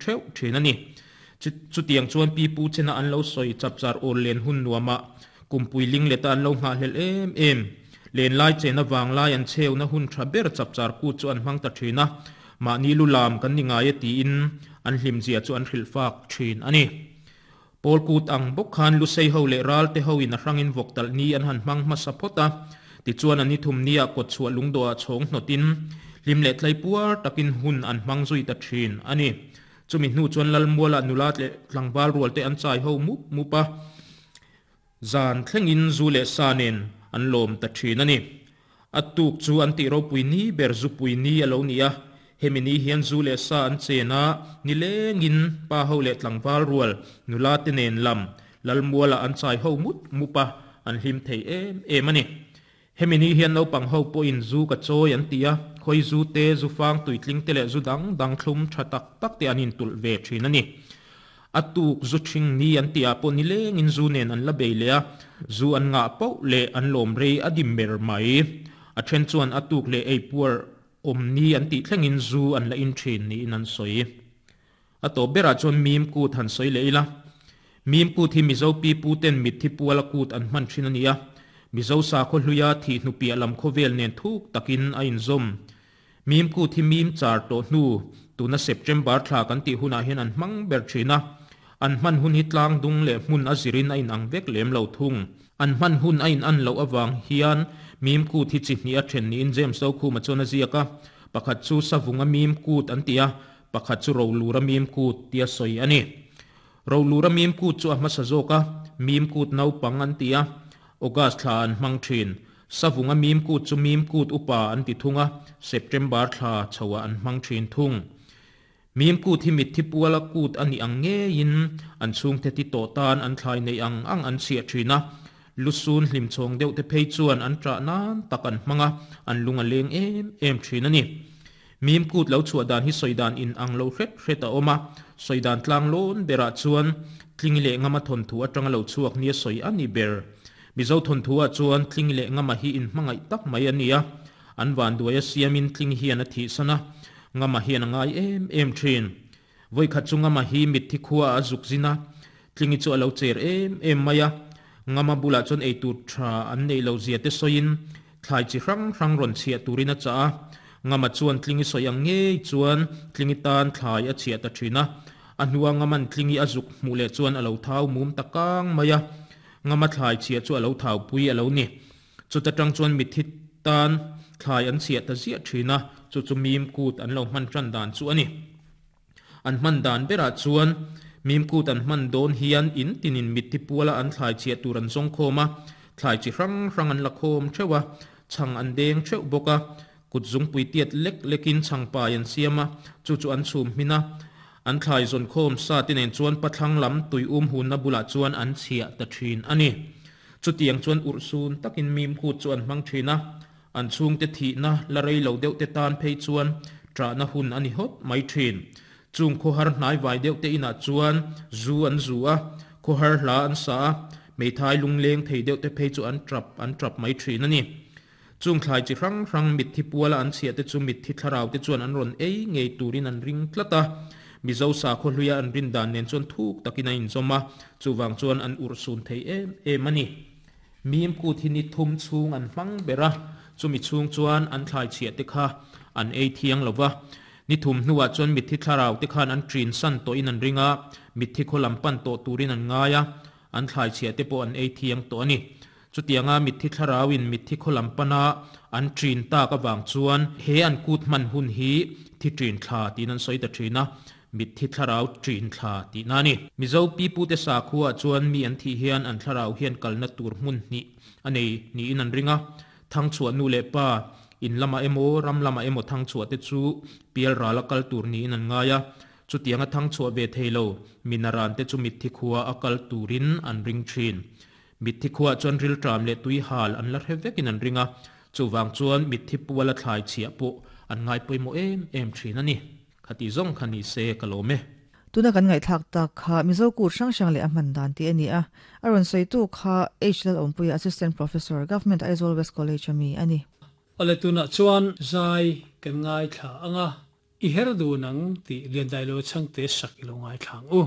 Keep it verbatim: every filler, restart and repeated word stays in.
theuh thin a ni. Chutiang chuan pi pu chena an lo sawi chapchar awl len hun nuama kumpui ling leta an lo nghahhlel em em. Len lai chena wanglai an chheuna hun tha ber chapchar kut chu an hmang ta thin a. Mahni lu lam kan ni ngai e tiin an hlim zia chu an hrilh fak thin a ni. Pawl kut ang bawk khan Lusei ho leh ral te ho in a hrangin vawk talh ni an han hmang hmasa phawt a. Tichuan an ni thum nia kawt chhuah lungdawh ah chhawng hnawtin hlim leh tlai puar takin hun an hmang zui ta thin a ni. Chumi hnu chuan Lalmuala nula leh tlangval rual te an chai ho mup mup a, zan thlengin zu leh sa nen an lawm ta thin a ni. A tuk chu an tih ropui ni ber zupui ni a lo ni a, hemi ni hian zu leh sa an chen a, nilengin pa ho leh tlangval rual nula te nen lam Lalmuala an chai ho mup mup a, an hlim thei em em a ni. Hemi ni hian naupang ho pawhin zu ka chawi an ti a, khawi zu te, zu fang tuitling te leh zu dang dang thlum tha tak tak te an intulh ve thin a ni. A tuk zu thing ni an tihah pawh nilengin zu nen an la bei leh a, zu an ngah poh leh an lawm rei a dim ber mai. A then chuan a tuk leh ei puar awm ni an tih thlengin zu an la in thin niin an sawi. A tawp berah chuan mim kut han sawi leh ila. Mim kut hi Mizo pi pu ten mitthi puala kut an hman thin a ni a. Mizo sakhaw hluia thih hnu piah lam khawvel nen thuk takin a inzawm. Mim kut hi mim char tawh hnu, tuna September thla kan tih hunah hian an hmang ber thin a. An hman hun hi tlang dung leh hmun a zirin a inang vek lem lo thung. An hman hun a inan loh avang hian mim kut hi chi hnih a then niin James Dokhuma chuan a ziak a. Pakhat chu Savunga mim kut an ti a, pakhat chu Rolura mim kut tia sawi a ni. Rolura mim kut chu a hmasa zawk a, mim kut naupang an ti a, August thla an hmang thin. Savunga mim kut chu mim kut upa an ti thung a, September thla chhoah an hmang thin thung. Mim kut hi mitthi puala kut a nih ang ngeiin an chhungte ti tawh tan an thlai neih ang ang an chhiah thin a. Lusun hlimchhawng deuh te phei chuan an ṭah nan tak an hmang a, an lung a leng em em thin a ni. Mim kut lo chhuah dan hi sawi dan in ang lo hret hret a awm a, sawi dan tlang lawn berah chuan Tling leh Ngama thawnthu atanga lo chhuak nia sawi a ni ber. Mizo thawnthu ah chuan Tling leh Ngama hi inhmangaih tak mai a ni a, an vanduai a siamin Tling hian a thihsan a, Ngama hian a ngai em em thin. Vawikhat chu Ngama hi mitthi khua ah a zuk zin a, Tlingi chu a lo cher em em mai a, Ngama bulah chuan eitur tha an neih loh zia te sawiin thlai chi hrang hrang rawn chhiah turin a chah a. Ngama chuan Tlingi sawi ang ngei chuan Tlingi tan thlai a chhiah ta thin a. A hnua Ngaman Tlingi a zuk hmuh leh chuan a lo thau mum ta kang mai a. Ngama thlai chhiah chu a lo thau pui a lo ni. Chuta tang chuan mitthi tan thlai an chhiah ta ziah thin a, chu chu mim kut an lo hman tan dan chu a ni. An hman dan berah chuan mim kut an hman dawn hian in tinin mitthi puala an thlai chhiah tur an zawng khawm a, thlai chi hrang hrang an la khawm theuh a, chhang an deng theuh bawk a, kut zungpui tiat lek lekin chhang pai an siam a, chu chu an chhum hmin a. An thlai zawn khawm sa te nen chuan pathlang lam tui um hunna bulah chuan an chhiah ta thin a ni. Chutiang chuan urhsun takin mim kut chu an hmang thin a, an chhungte thihna la rei lo deuh te tan phei chuan ṭahna hun a ni hawt mai thin. Chung khawhar hnai vai deuh te inah chuan zu an zu a, khawhar hla an sa a, hmeithai lungleng thei deuh te phei chu an ṭap an ṭap mai thin a ni. Chung thlai chi hrang hrang mitthi puala an chhiah te chu mitthi thlarau te chuan an rawn ei ngei turin an ring tlat a. Mizo sakhaw hluia an rin dan nen chuan thuk takin a inzawm a, chuvang chuan an urhsun thei em em a ni. Mim kut hi ni thum chhung an hmang ber a, chumi chhung chuan an thlai chhiah te kha an ei thiang lo va. Ni thum hnuah chuan mitthi thlarau te khan an ṭin san tawhin an ring a, mitthi khaw lam pan tawh turin an ngai a, an thlai chhiah te pawh an ei thiang tawh a ni. Chutianga mitthi thlarauin mitthi khaw lam pana an ṭin tak avang chuan he an kut hman hun hi thi ṭin thla tiin an sawi ta ṭhin a, mitthi thlarau ṭin thla tihna a ni. Mizo pipute sakhuaah chuan mi an thih hian an thlarau hian kalna tur hmun hnih a nei niin an ring a, thangchhuah nu leh pa, in lamah emaw ram lamah emaw thangchhuah te chu pialrala kal tur niin an ngai a, chutianga thangchhuah ve thei lo minaran te chu mitthi khua a kal turin an ring ṭhin. Mitthi khuaah chuan rilṭam leh tui hal an la hre vekin an ring a, chuvang chuan mitthi puala thlai chhiah pawh an ngai pawimawh em em ṭhin a ni. Khati zawng kha ni se ka lawm e. Tuna kan ngaihthlak tak kha Mizo kut hrang hrang leh a hman dan tih a ni a, a rawn sawitu kha H Lalawmpuia Assistant Professor, Government Aizawl West College a mi a ni. Awle tunah chuan zai kan ngaithla ang a. I her du nang ti lian dai lo chang te sak ilo ngai thlang u.